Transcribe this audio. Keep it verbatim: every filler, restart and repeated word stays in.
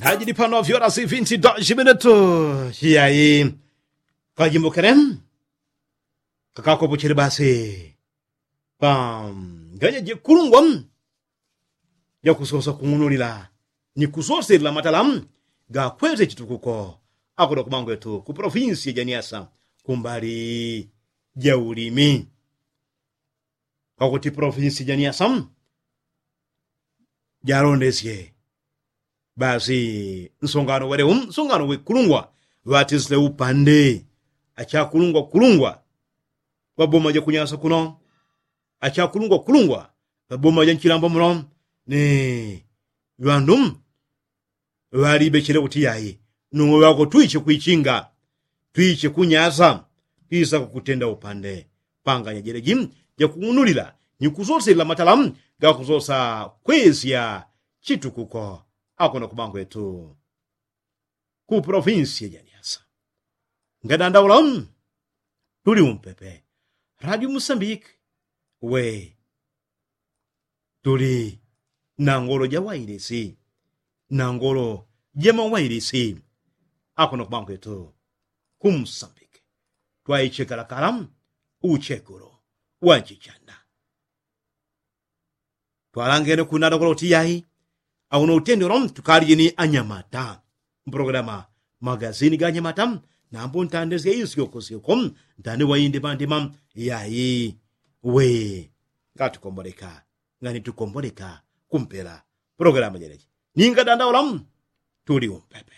Ajili pano vyora sifinti doshi minutu. Chiyayi kajimbukele kakakopochele basi panganya jekulungwa jakusosa kung'unulila ni kusoselela matala gakwese chitukuko. Akoda kumangwetu ku polofinsi ya janiasa kumbali jaulimi. Pakuti polofinsi janiasa jalondesye basi nsongano wele um nsongano wekulungwa ŵatisile upande achakulungwa kulungwa ŵaboma jakunyasa kuno achakulungwa kulungwa ŵaboma janchilambo muno ni ŵandu ŵalibechele kuti yayi nuwe ŵako twiche kwichinga twiche kunyasa twisa kukutenda upande panganya jeleji jakung'unulila ni kusoselela matala gakusosa kwesya chitukuko. Akona kubangwetu ku polofinsi ya janiasa ngadandaula tuli umpepe radio musambiki we tuli na ngolo ja wailisi na ngolo ja mawailisi. Akono kwangwetu kumsambike twaichekalakala uchekulo wa nchichanda twalangene kunada kolo tiyayi. Auno utendelo tukalije ni anyamata mpologalama magazini ga anyamata. Nambo ntande sya isyoko syoko ntande waindimandima yayi we ngatukomboleka ngani tukomboleka kumpela pologalama jeleji ninga dandaula tuli umpepe.